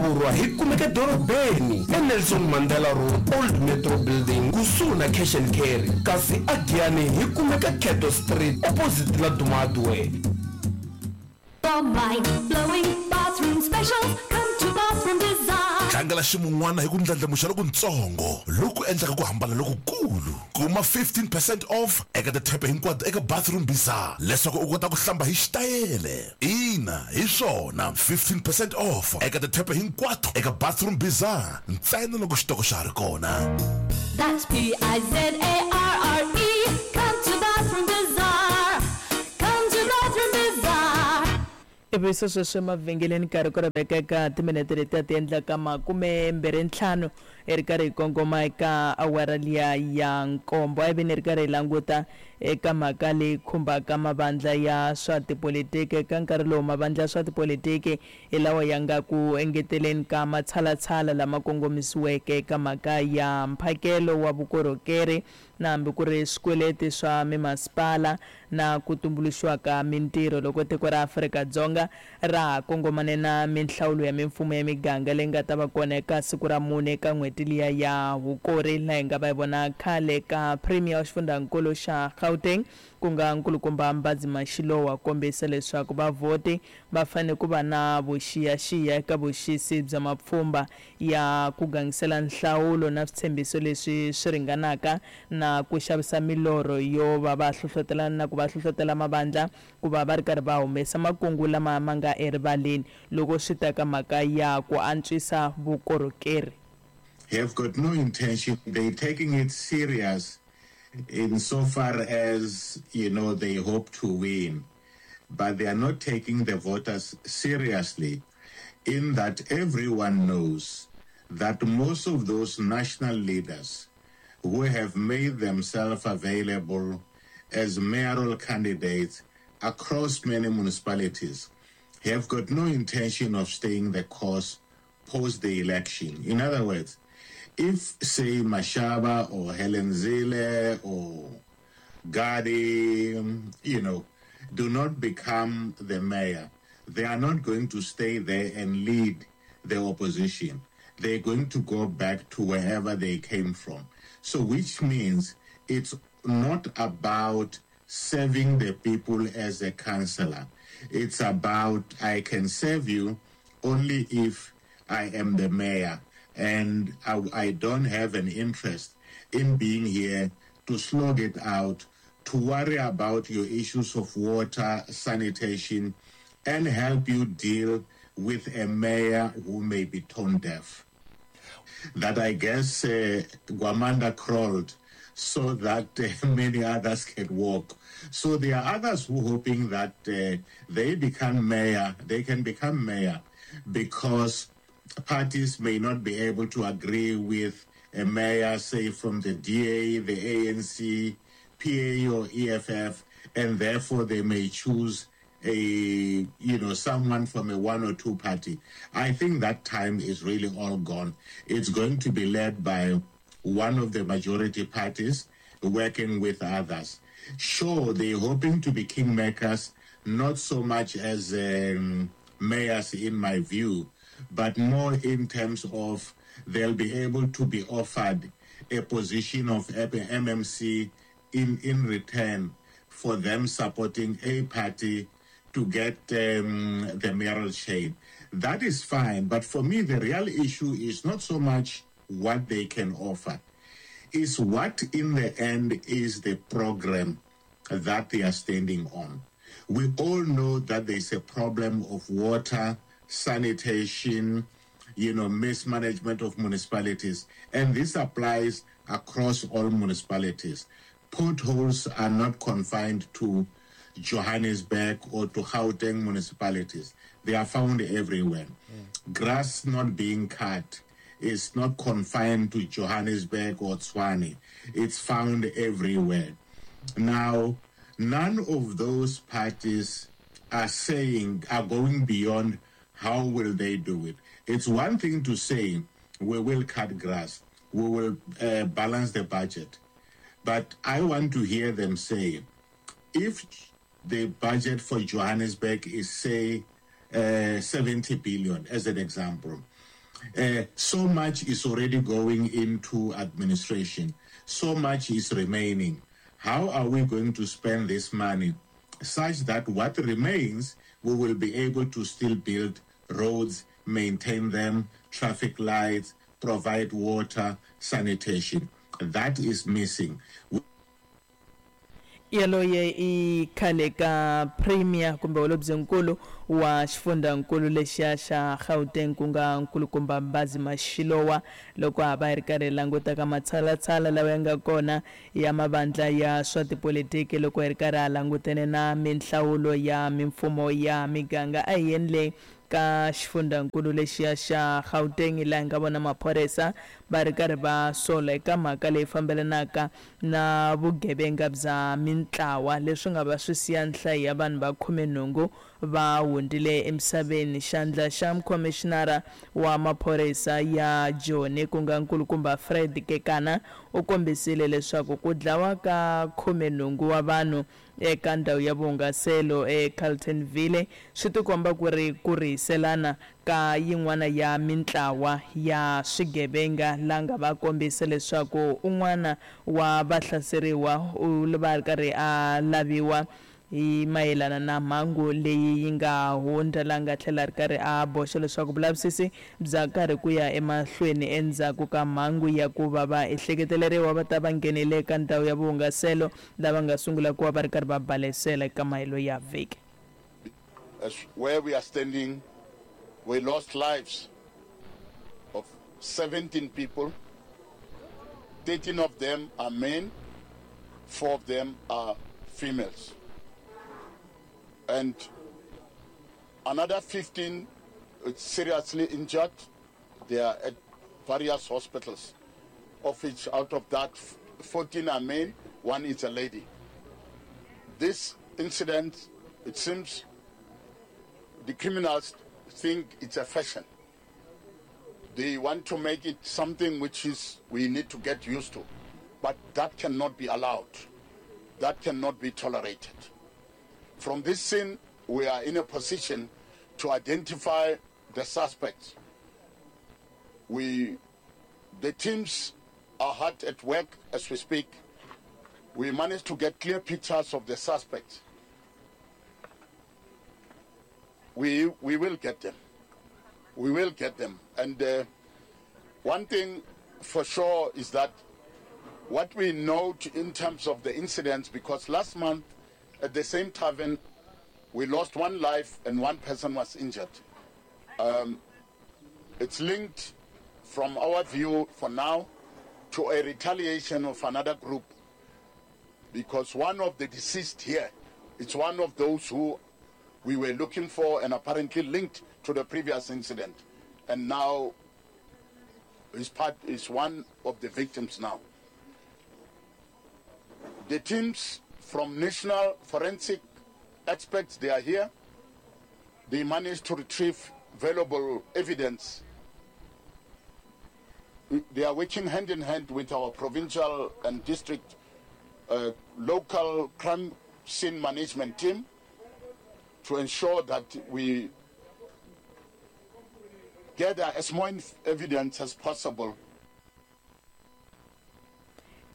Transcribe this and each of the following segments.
Vurwa hi kumeka dorobeni eNelson Mandela Road, Old Metro Building, kusuhi na Cash and Carry. Kasi aGiyani hi kumeka Cato Street, opposite Laduma Hardware. For mind blowing bathroom specials, come to Bathroom Bizarre. Tlangela ximun'wana hi ku ndlandlamuxa lokuntsongo loku endlaka ku hambana lokukulu. Kuma 15 percent off eka tithepe hinkwato eka Bathroom Bizarre leswaku u kota ku hlamba hi xitayele. Ina, hi swona, 15 percent off eka tithepe hinkwato eka Bathroom Bizarre ntsena loko xitoko xa ha ri kona. That's B-I-Z-A-R-R-E, come to Bathroom Bizarre, come to Bathroom Bizarre. Ivi se sweswi emavhengeleni nkarhi ku ri veka eka timinete leti a ti endlaka makume mbirhi ntlhanu hi ri karhi hi kongoma eka awara liya ya nkombo. A hi veni hi ri karhi hi languta eka mhaka leyi khumbaka mavandla ya swa tipolitiki. Eka nkarhi lowu mavandla ya swa tipolitiki hi lawa ya nga ku engeteleni ka matshalatshala lama kongomisiweke eka mhaka ya mphakelo wa vukorhokeri na hambi ku ri swikweleti swa mimasipala na ku tumbuluxiwa ka mintirho loko tiko ra Afrika-Dzonga ra ha kongomane na minhlawulo ya mimfumo ya miganga leyi nga ta va kona eka siku ra mune eka n'hweti liya ya Hukuri laha hi nga va hi vona khale ka Premier wa xifundhankulu xa Gauteng ku nga Nkulukumba Mbhazima Shilowa kombisa leswaku vavhoti va fanele ku va na vuxiyaxiya eka vuxisi bya mapfhumba ya ku gangisela nhlawulo na switshembiso leswi swi ringanaka na ku xavisa milorho yo va va hlohlotelana na ku va hlohlotela mavandla ku va va ri karhi va humesa makungu lama ma nga erivaleni loko swi ta ka mhaka ya ku antswisa vukorhokeri. Have got no intention, they taking it serious in so far as, you know, they hope to win, but they are not taking the voters seriously in that everyone knows that most of those national leaders who have made themselves available as mayoral candidates across many municipalities have got no intention of staying the course post the election. In other words, if, say, Mashaba or Helen Zille or Gadi, you know, do not become the mayor, they are not going to stay there and lead the opposition. They're going to go back to wherever they came from. So, which means it's not about serving the people as a councillor. It's about I can serve you only if I am the mayor, and I, I don't have an interest in being here to slog it out, to worry about your issues of water, sanitation, and help you deal with a mayor who may be tone deaf. That I guess Gwamanda crawled so that many others can walk. So there are others who are hoping that they become mayor, they can become mayor because parties may not be able to agree with a mayor, say from the DA, the ANC, PA or EFF, and therefore they may choose a you know someone from a one or two party. I think that time is really all gone. It's going to be led by one of the majority parties working with others. Sure, they're hoping to be kingmakers, not so much as mayors in my view, but more in terms of they'll be able to be offered a position of MMC in, in return for them supporting a party to get the mayoral chain. That is fine, but for me, the real issue is not so much what they can offer, is what in the end is the program that they are standing on. We all know that there's a problem of water, sanitation, you know, mismanagement of municipalities, and this applies across all municipalities. Potholes are not confined to Johannesburg or to Gauteng municipalities. They are found everywhere. Grass not being cut is not confined to Johannesburg or Tshwane. It's found everywhere. Now, none of those parties are saying, are going beyond how will they do it. It's one thing to say, we will cut grass, we will balance the budget. But I want to hear them say, if the budget for Johannesburg is, say, 70 billion, as an example, Uh, so much is already going into administration. So much is remaining. How are we going to spend this money such that what remains, we will be able to still build roads, maintain them, traffic lights, provide water, sanitation. That is missing. Yaloye i khale ka Premier kumbe Holobyenkulu wa xifundzankulu lexiya xa Gauteng ku nga Nkulukumba Mbazi Mashilowa loko ha va hi ri karhi hi languta ka matshalatshala lawa ya nga kona ya mavandla ya swa tipolitiki loko hi ri karhi ha langutene na minhlawulo ya mimfumo ya miganga. A hi yeni le ka xifundzankulu lexiya xa Gauteng laha hi nga vona maphorisa va ri karhi va sola eka mhaka leyi fambelanaka na vugevenga bya mintlawa leswi nga va swi siya nhlayo ya vanhu va khumenhungu va hundzile emisaveni. Xandla xa mukhomixinara wa maphorisa ya Joni ku nga Nkulukumba Fred Kekana u kombisile leswaku ku dlawa ka khumenhungu wa vanhu eka ndhawu ya vuhungaselo eCarltonville swi tikomba ku ri ku rihiselana ka yin'wana ya mintlawa ya swigevenga la nga va kombisa leswaku un'wana wa vahlaseriwa u va a ri karhi a laviwa hi mayelana na mhangu leyi yi nga hundza la nga tlhela a ri karhi a boxa leswaku vulavisisi bya karhi ku ya emahlweni endzhaku ka mhangu ya ku va va ehleketeleriwa va ta va nghenile eka ndhawu ya vuhungaselo lava nga sungula ku va va ri karhi va balesela eka mahelo ya vhiki. As where we are standing, we lost lives of 17 people. 13 of them are men, 4 of them are females. And another 15 seriously injured. They are at various hospitals, of which out of that 14 are men, one is a lady. This incident, it seems the criminals think it's a fashion. They want to make it something which is we need to get used to. But that cannot be allowed. That cannot be tolerated. From this scene, we are in a position to identify the suspects. We, the teams are hard at work as we speak. We managed to get clear pictures of the suspects. We, we will get them. We will get them. And uh, one thing for sure is that what we note in terms of the incidents, because last month at the same tavern, we lost one life and one person was injured. Um, it's linked, from our view for now, to a retaliation of another group because one of the deceased here is one of those who we were looking for and apparently linked to the previous incident. And now his part is one of the victims now. The teams from National Forensic Experts, they are here. They managed to retrieve valuable evidence. They are working hand in hand with our provincial and district uh, local crime scene management team to ensure that we gather as much evidence as possible.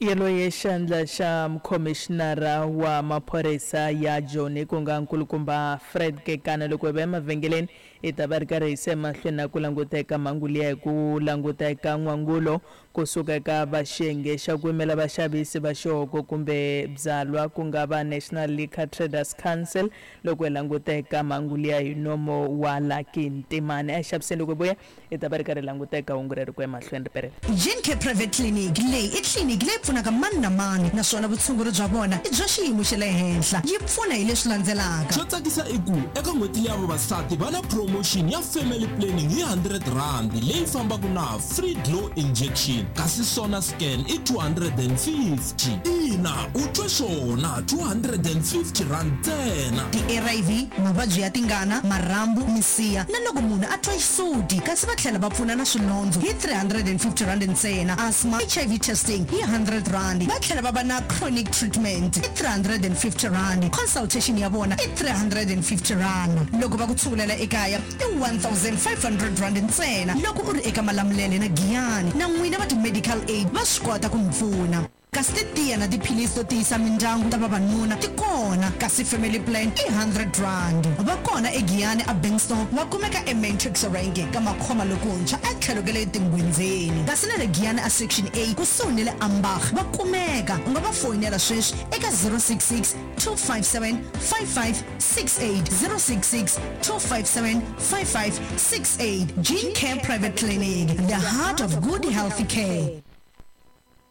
Yaloye xandla xa mukhomixinara wa maphorisa ya Joni ku nga nkulukumba Fred Kekana loko hi va emavhengeleni hi ta va ri karhi hi se emahlweni na ku languta eka mhangu liya hi ku languta eka n'wangulo kusuka eka va xiyenge xa ku yimela vaxavisi va xihoko kumbe byalwa ku nga va National Liquor Traders Council loko hi languta eka mhangu liya hi nomo wa Lucky Ntimani. A hi xaviseni loko hi vuya hi ta va ri karhi hi languta eka hungu reri ku ya emahlweni ri perela. Gencare Private Clinic leyi i tliliniki leyi pfunaka mani na mani naswona vutshunguri bya vona i bya xiyimo xa le henhla. Yi pfuna hi leswi landzelaka. Xo tsakisa i ku eka n'hweti liya vavasati va na promotion ya family planning hi R100 leyi fambaka na free glow injection kasi sona scan i R250. Ina, u twe swona, R250 ntsena. Ti-ARV, mavabyi ya tingana, marhambu, misiha na loko munhu a twa xisuti kasi va tlhela va pfuna na swilondzo hi R350 ntsena, asthma, HIV testing hi R100, va tlhela va va na chronic treatment hi R350, consultation ya vona i R350. Loko va ku tshungulela ekaya. i R1500 ntsena loko u ri eka Malamulele na Giyani. Na n'wina va ti-medical aid va swi kota ku mi pfuna. Kasi titiya na tiphilisi to tiyisa mindyangu ta vavanuna ti kona, kasi family plan i R100. Va kona eGiyani a Bengstone, va kumeka eMatrix Rank ka Makhoma lokuntshwa etlhelo ka le Tinghwindzeni. Kasi na le Giyani a Section A kusuhi ni le Ambach va kumeka. U nga va foyinela sweswi eka 066 257 5568, 066 257 5568. Gene Care Private Clinic, the heart of good healthy care.